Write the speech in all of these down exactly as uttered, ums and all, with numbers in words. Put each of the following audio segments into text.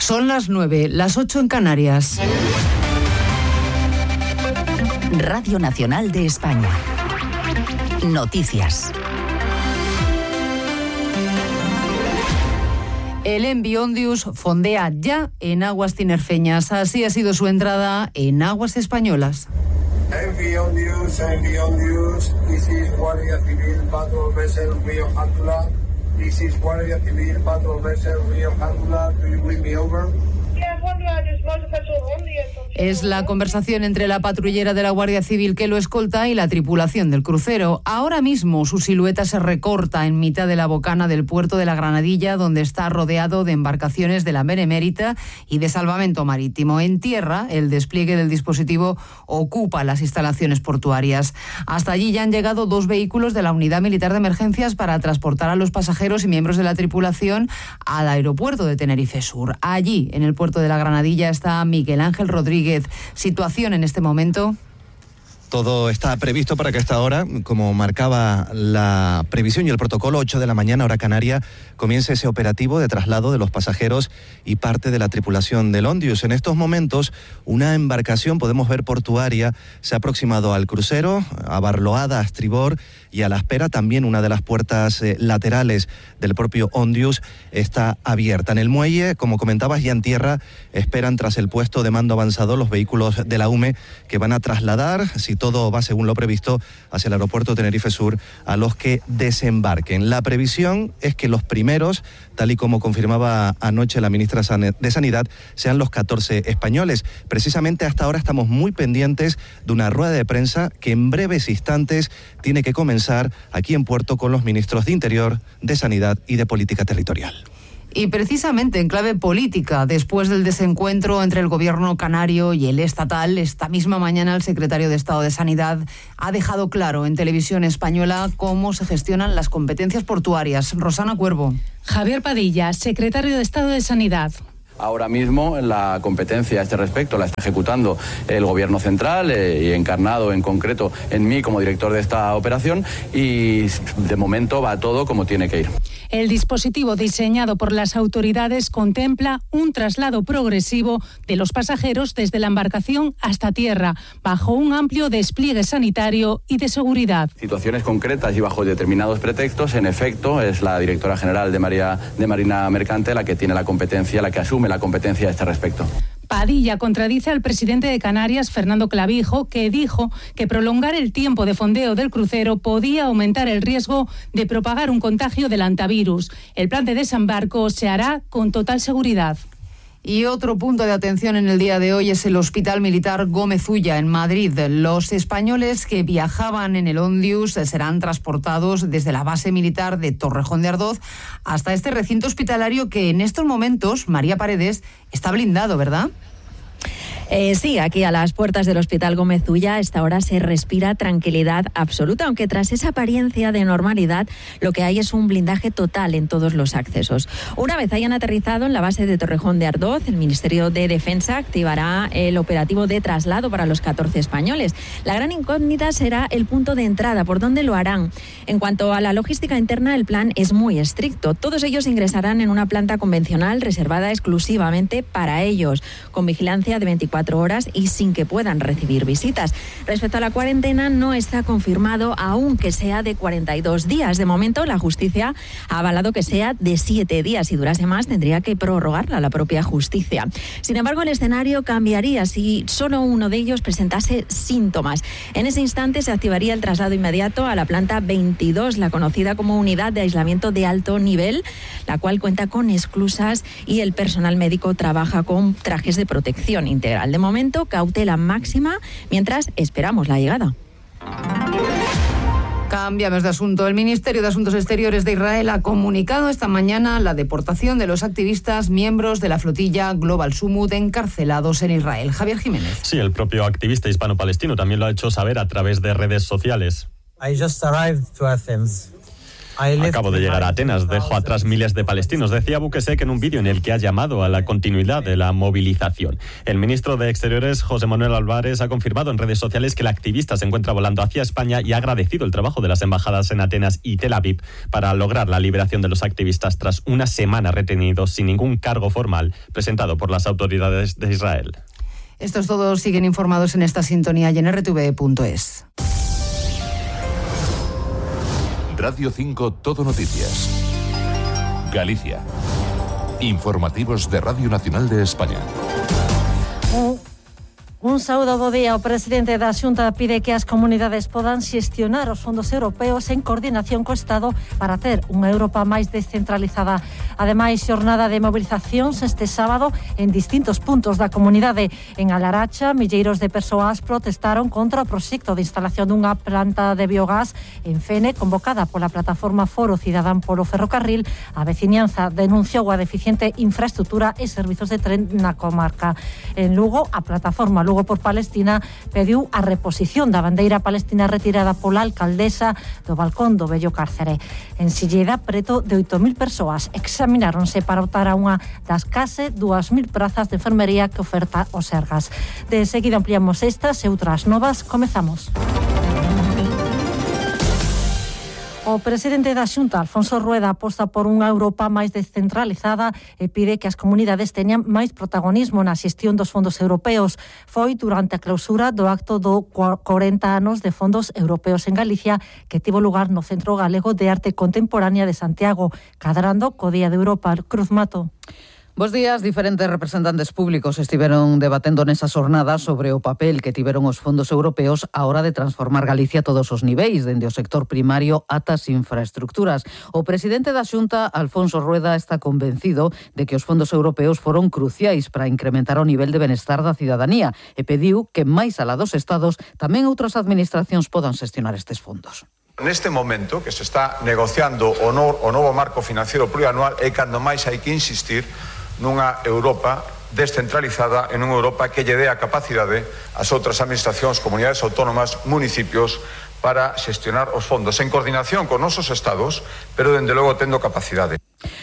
Son las nueve, las ocho en Canarias. Radio Nacional de España. Noticias. El Envi Ondius fondea ya en aguas tinerfeñas. Así ha sido su entrada en aguas españolas. Envi Ondius, Envi Ondius, this is Guardia Civil Patrol Vessel Rio Jántula. This is Guardia Civil Patrol Vessel Rio Jántula. Do you bring me over? Es la conversación entre la patrullera de la Guardia Civil que lo escolta y la tripulación del crucero. Ahora mismo su silueta se recorta en mitad de la bocana del puerto de la Granadilla, donde está rodeado de embarcaciones de la Benemérita y de salvamento marítimo. En tierra, el despliegue del dispositivo ocupa las instalaciones portuarias. Hasta allí ya han llegado dos vehículos de la Unidad Militar de Emergencias para transportar a los pasajeros y miembros de la tripulación al aeropuerto de Tenerife Sur. Allí, en el puerto de la Granadilla, está Miguel Ángel Rodríguez. ¿Situación en este momento? Todo está previsto para que a esta hora, como marcaba la previsión y el protocolo, ocho de la mañana, hora canaria, comience ese operativo de traslado de los pasajeros y parte de la tripulación del Ondius. En estos momentos, una embarcación, podemos ver portuaria, se ha aproximado al crucero, abarloada a estribor, y a la espera también una de las puertas eh, laterales del propio Ondius está abierta. En el muelle, como comentabas, ya en tierra, esperan tras el puesto de mando avanzado los vehículos de la U M E que van a trasladar, si todo va según lo previsto, hacia el aeropuerto Tenerife Sur a los que desembarquen. La previsión es que los primeros, tal y como confirmaba anoche la ministra de Sanidad, sean los catorce españoles. Precisamente hasta ahora estamos muy pendientes de una rueda de prensa que en breves instantes tiene que comenzar aquí en Puerto con los ministros de Interior, de Sanidad y de Política Territorial. Y precisamente en clave política, después del desencuentro entre el gobierno canario y el estatal, esta misma mañana el secretario de Estado de Sanidad ha dejado claro en televisión española cómo se gestionan las competencias portuarias. Rosana Cuervo. Javier Padilla, secretario de Estado de Sanidad. Ahora mismo la competencia a este respecto la está ejecutando el Gobierno central eh, y encarnado en concreto en mí como director de esta operación, y de momento va todo como tiene que ir. El dispositivo diseñado por las autoridades contempla un traslado progresivo de los pasajeros desde la embarcación hasta tierra, bajo un amplio despliegue sanitario y de seguridad. Situaciones concretas y bajo determinados pretextos, en efecto, es la directora general de, María, de Marina Mercante la que tiene la competencia, la que asume la competencia a este respecto. Padilla contradice al presidente de Canarias, Fernando Clavijo, que dijo que prolongar el tiempo de fondeo del crucero podía aumentar el riesgo de propagar un contagio del hantavirus. El plan de desembarco se hará con total seguridad. Y otro punto de atención en el día de hoy es el Hospital Militar Gómez Ulla en Madrid. Los españoles que viajaban en el Ondius serán transportados desde la base militar de Torrejón de Ardoz hasta este recinto hospitalario que en estos momentos, María Paredes, está blindado, ¿verdad? Eh, sí, aquí a las puertas del Hospital Gómez Ulla a esta hora se respira tranquilidad absoluta, aunque tras esa apariencia de normalidad lo que hay es un blindaje total en todos los accesos. Una vez hayan aterrizado en la base de Torrejón de Ardoz, el Ministerio de Defensa activará el operativo de traslado para los catorce españoles. La gran incógnita será el punto de entrada, por dónde lo harán. En cuanto a la logística interna, el plan es muy estricto. Todos ellos ingresarán en una planta convencional reservada exclusivamente para ellos, con vigilancia de veinticuatro horas y sin que puedan recibir visitas. Respecto a la cuarentena, no está confirmado aún que sea de cuarenta y dos días. De momento, la justicia ha avalado que sea de siete días. Si durase más, tendría que prorrogarla la propia justicia. Sin embargo, el escenario cambiaría si solo uno de ellos presentase síntomas. En ese instante se activaría el traslado inmediato a la planta veintidós, la conocida como unidad de aislamiento de alto nivel, la cual cuenta con esclusas y el personal médico trabaja con trajes de protección integral. De momento, cautela máxima mientras esperamos la llegada. Cambiamos de asunto. El Ministerio de Asuntos Exteriores de Israel ha comunicado esta mañana la deportación de los activistas miembros de la flotilla Global Summut encarcelados en Israel. Javier Jiménez. Sí, el propio activista hispano-palestino también lo ha hecho saber a través de redes sociales. I just arrived to Athens. Acabo de llegar a Atenas, dejo atrás miles de palestinos, decía Bukesek en un vídeo en el que ha llamado a la continuidad de la movilización. El ministro de Exteriores, José Manuel Álvarez, ha confirmado en redes sociales que el activista se encuentra volando hacia España y ha agradecido el trabajo de las embajadas en Atenas y Tel Aviv para lograr la liberación de los activistas tras una semana retenidos sin ningún cargo formal presentado por las autoridades de Israel. Estos todos siguen informados en esta sintonía y en r t v punto es. Radio cinco Todo Noticias. Galicia. Informativos de Radio Nacional de España. Un, un saúdo bo día. O presidente da Xunta pide que as comunidades podan xestionar os fondos europeos en coordinación co Estado para ter unha Europa máis descentralizada. Ademais, xornada de movilizacións este sábado en distintos puntos da comunidade. En Alaracha, milleiros de persoas protestaron contra o proxecto de instalación dunha planta de biogás en Fene, convocada pola plataforma Foro Cidadán polo Ferrocarril. A veciñanza denunciou a deficiente infraestructura e servizos de tren na comarca. En Lugo, a plataforma Lugo por Palestina pediu a reposición da bandeira palestina retirada pola alcaldesa do balcón do vello cárcere. En Silleda, preto de oito mil persoas examináronse para optar a unha das case dúas mil prazas de enfermería que oferta o Sergas. De seguida ampliamos estas e outras novas. Comezamos. O presidente da Xunta, Alfonso Rueda, aposta por unha Europa máis descentralizada e pide que as comunidades teñan máis protagonismo na xestión dos fondos europeos. Foi durante a clausura do acto do corenta anos de fondos europeos en Galicia, que tivo lugar no Centro Galego de Arte Contemporánea de Santiago, cadrando co Día de Europa. Cruz Mato. Bos días. Diferentes representantes públicos estiveron debatendo nesa xornada sobre o papel que tiveron os fondos europeos á hora de transformar Galicia a todos os niveis, dende o sector primario ata as infraestructuras. O presidente da Xunta, Alfonso Rueda, está convencido de que os fondos europeos foron cruciais para incrementar o nivel de benestar da cidadanía e pediu que, máis alá dos estados, tamén outras administracións podan xestionar estes fondos. Neste momento que se está negociando o, no, o novo marco financiero plurianual é cando máis hai que insistir nunha Europa descentralizada, en unha Europa que lle dé a capacidade ás outras administracións, comunidades autónomas, municipios, para xestionar os fondos en coordinación con nosos estados, pero dende logo tendo capacidade.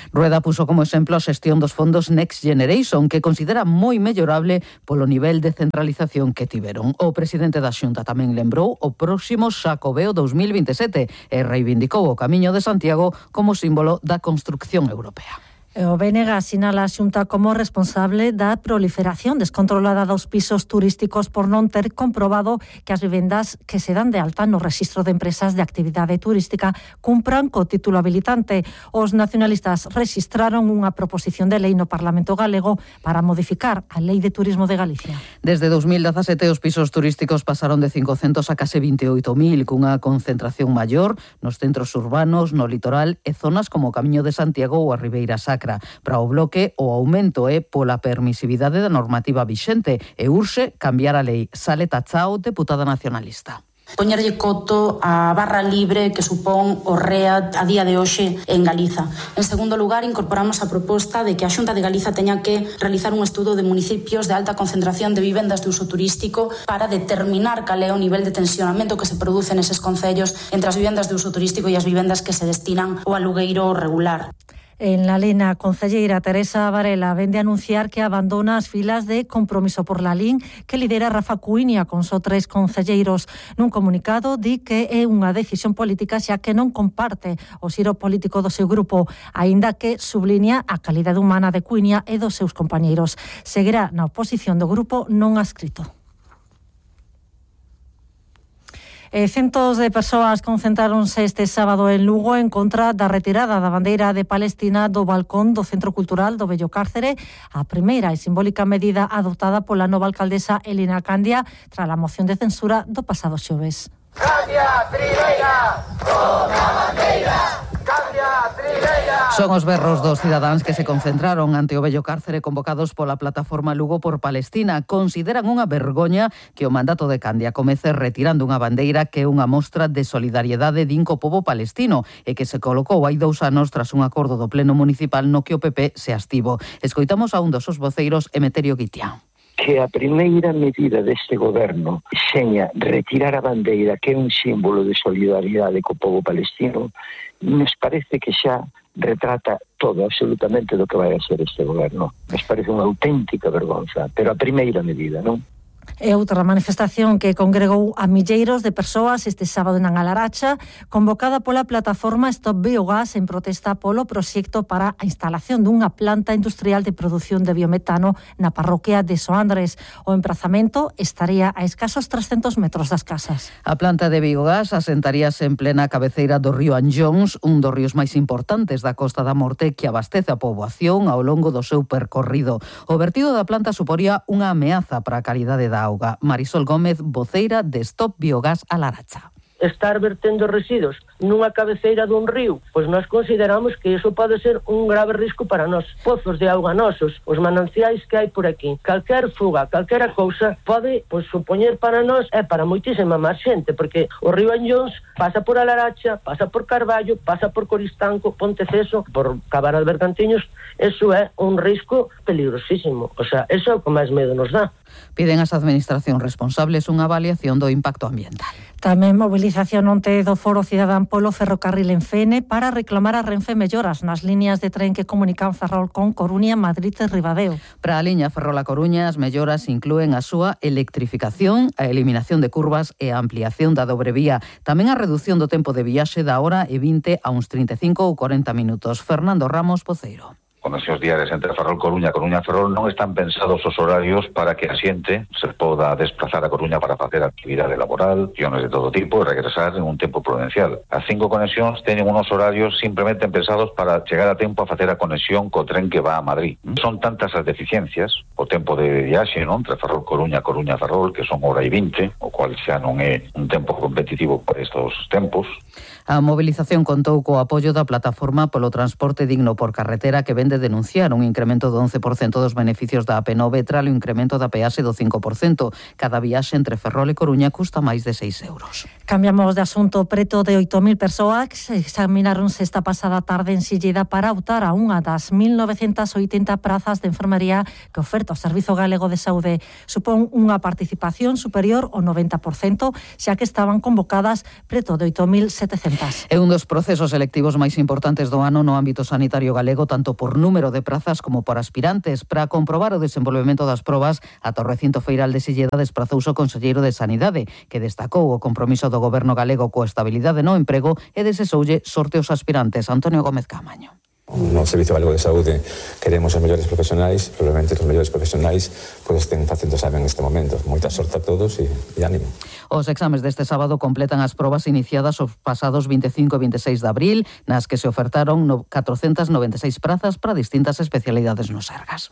Rueda puso como exemplo a xestión dos fondos Next Generation, que considera moi mellorable polo nivel de centralización que tiveron. O presidente da Xunta tamén lembrou o próximo Xacobeo dos mil veintisiete e reivindicou o Camiño de Santiago como símbolo da construcción europea. O B N G sinala a Xunta como responsable da proliferación descontrolada dos pisos turísticos por non ter comprobado que as vivendas que se dan de alta no Rexistro de Empresas de Actividade Turística cumpran co título habilitante. Os nacionalistas rexistraron unha proposición de lei no Parlamento Galego para modificar a Lei de Turismo de Galicia. Desde dos mil dezasete os pisos turísticos pasaron de cincocentos a case vinte e oito mil, cunha concentración maior nos centros urbanos, no litoral e zonas como o Camiño de Santiago ou a Ribeira Sacra. Para o Bloque, o aumento é pola permisividade da normativa vixente e urxe cambiar a lei. Saleta Chao, deputada nacionalista. Poñerlle coto a barra libre que supón o R E A a día de hoxe en Galiza. En segundo lugar, incorporamos a proposta de que a Xunta de Galiza teña que realizar un estudo de municipios de alta concentración de vivendas de uso turístico para determinar cal é o nivel de tensionamento que se produce neses concellos entre as vivendas de uso turístico e as vivendas que se destinan ao alugueiro regular. En la Lena, concelleira Teresa Varela vende a anunciar que abandona as filas de Compromiso por la Lin que lidera Rafa Cuiña con só tres concelleiros. Nun comunicado di que é unha decisión política xa que non comparte o xiro político do seu grupo, aínda que subliña a calidade humana de Cuiña e dos seus compañeiros. Seguirá na oposición do grupo non adscrito. Eh, centos de persoas concentráronse este sábado en Lugo en contra da retirada da bandeira de Palestina do balcón do Centro Cultural do Vello Cárcere, a primeira e simbólica medida adoptada pola nova alcaldesa Elena Candia tras a moción de censura do pasado xoves. Candia Trileira, toma bandeira! Candia Trileira! Son os berros dos cidadáns que se concentraron ante o Vello Cárcere convocados pola plataforma Lugo por Palestina. Consideran unha vergoña que o mandato de Candia comece retirando unha bandeira que é unha mostra de solidariedade din co pobo palestino e que se colocou hai dous anos tras un acordo do Pleno Municipal no que o P P se abstivo. Escoitamos a un dos os voceiros, Emeterio Guitián. que a primeira medida deste goberno seña retirar a bandeira, que é un símbolo de solidaridade co povo palestino, nos parece que xa retrata todo, absolutamente, do que vai a ser este goberno. Nos parece unha auténtica vergonza, pero a primeira medida, non? É outra manifestación que congregou a milleiros de persoas este sábado na Alaracha, convocada pola plataforma Stop Biogas en protesta polo proxecto para a instalación dunha planta industrial de produción de biometano na parroquia de Soandres. O emprazamento estaría a escasos trescentos metros das casas. A planta de biogás asentaríase en plena cabeceira do río Anllóns, un dos ríos máis importantes da Costa da Morte que abastece a poboación ao longo do seu percorrido. O vertido da planta suporía unha ameaza para a calidade da auga. Marisol Gómez, voceira de Stop Biogás Alaracha. Estar vertendo residuos nunha cabeceira dun río, pois nós consideramos que iso pode ser un grave risco para nós. Pozos de auga nosos, os mananciais que hai por aquí, calquer fuga, calquera cousa pode pois supoñer para nós e para moitísima máis xente, porque o río Anllóns pasa por Alaracha, pasa por Carballo, pasa por Coristanco, Ponteceso, por Cabana de Bergantiños. Eso é un risco peligrosísimo. O sea, eso é o que máis medo nos dá. Piden ás administracións responsables unha avaliación do impacto ambiental. Tamén mobilización onte do Foro Cidadán polo ferrocarril en Fene para reclamar a Renfe melloras nas líneas de tren que comunican Ferrol con Coruña, Madrid e Ribadeo. Para a liña Ferrol a Coruña, as melloras inclúen a súa electrificación, a eliminación de curvas e a ampliación da dobre vía. Tamén a reducción do tempo de viaxe da hora e vinte a uns trinta e cinco ou corenta minutos. Fernando Ramos, voceiro. Conexións diarias entre Ferrol Coruña e Coruña Ferrol non están pensados os horarios para que a xente se poda desplazar a Coruña para facer actividade laboral, acciones de todo tipo e regresar en un tempo prudencial. As cinco conexións teñen unos horarios simplemente pensados para chegar a tempo a facer a conexión co tren que va a Madrid. Son tantas as deficiencias, o tempo de viaxe, non, entre Ferrol Coruña e Coruña Ferrol, que son hora e vinte, o cual xa non é un tempo competitivo por estos tempos. A mobilización contou co apoio da plataforma polo transporte digno por carretera, que vende denunciar un incremento do once por cento dos beneficios da A P nove tras o incremento da peaxe do cinco por cento. Cada viaxe entre Ferrol e Coruña custa máis de seis euros. Cambiamos de asunto. Preto de oito mil persoas examináronse esta pasada tarde en Silleda para optar a unha das mil novecentas oitenta prazas de enfermería que oferta o Servizo Galego de Saúde. Supón unha participación superior ao noventa por cento, xa que estaban convocadas preto de oito mil setecentas. É un dos procesos selectivos máis importantes do ano no ámbito sanitario galego, tanto por número de prazas como por aspirantes. Para comprobar o desenvolvemento das probas, ata o recinto feiral de Silleda desprazouse o conselleiro de Sanidade, que destacou o compromiso do Goberno galego coa estabilidade no emprego e desexoulle sorte aos aspirantes. Antonio Gómez Camaño. No Servizo Galego de Saúde queremos os mellores profesionais, probablemente os mellores profesionais pois estén facendo sabe en este momento. Moita sorte a todos e, e ánimo. Os exames deste sábado completan as probas iniciadas os pasados vinte e cinco e vinte e seis de abril, nas que se ofertaron catrocentas noventa e seis prazas para distintas especialidades no Sergas.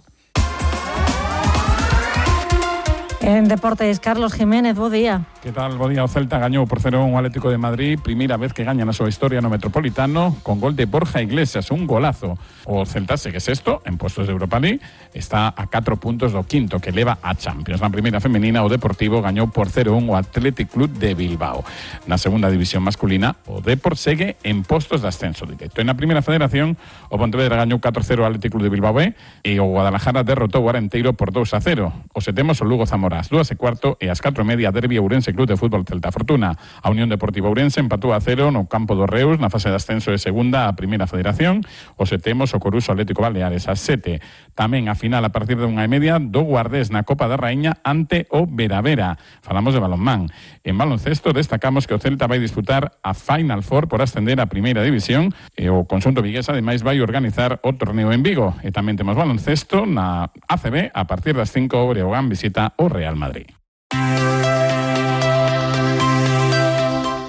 En deportes, Carlos Jiménez, bo día. Que tal, bo día? O Celta gañou por cero un o Atlético de Madrid, primeira vez que gaña na súa historia no Metropolitano, con gol de Borja Iglesias, un golazo. O Celta segue sexto en postos de Europa League, está a catro puntos do quinto, que leva a Champions. Na primeira femenina, o Deportivo gañou por cero un o Athletic Club de Bilbao. Na segunda división masculina, o Depor segue en postos de ascenso directo. En na primeira federación, o Pontevedra gañou catro cero ao Athletic Club de Bilbao B e o Guadalajara derrotou o Arenteiro por dous a cero. O setemos o Lugo Zamora ás dúas e cuarto e ás catro e media derbi Ourense Club de Fútbol Celta Fortuna. A Unión Deportiva Ourense empatou a cero no campo do Reus na fase de ascenso de segunda a primeira federación. O setemos o Coruso Atlético Baleares ás sete. Tamén a final a partir de unha e media do Guardés na Copa da Raíña ante o Veravera. Falamos de balonmán. En baloncesto destacamos que o Celta vai disputar a Final Four por ascender a primeira división e o conxunto vigués ademais vai organizar o torneo en Vigo. E tamén temos baloncesto na A C B a partir das cinco o Breogán visita o Real Madrid.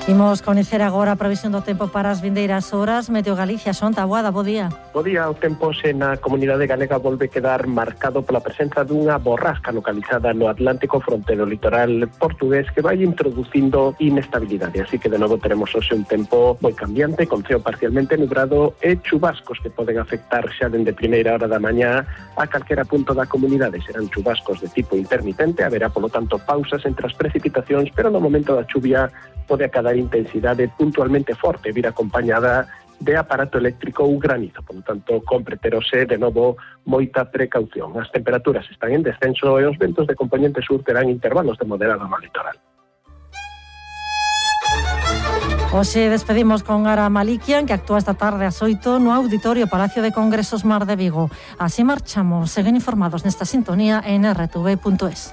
Imos coñecer agora a previsión do tempo para as vindeiras horas. Meteo Galicia, Son Taboada, bo día. Bo día, o tempo se na comunidade galega volve quedar marcado pola presenza dunha borrasca localizada no Atlántico fronte do litoral portugués que vai introducindo inestabilidade, así que de novo teremos hoxe un tempo moi cambiante, con ceo parcialmente nubrado e chubascos que poden afectar xa dende primeira hora da mañá a calquera punto da comunidade. Serán chubascos de tipo intermitente, haberá polo tanto pausas entre as precipitacións, pero no momento da chuvia pode acadar intensidade puntualmente forte, vir acompañada de aparato eléctrico ou granizo. Por lo tanto, compre terose de novo moita precaución. As temperaturas están en descenso e os ventos de componente sur terán intervalos de moderado no litoral. Hoxe despedimos con Ara Malikian, que actúa esta tarde ás oito no Auditorio Palacio de Congresos Mar de Vigo. Así marchamos. Seguen informados nesta sintonía en erre te ve punto es.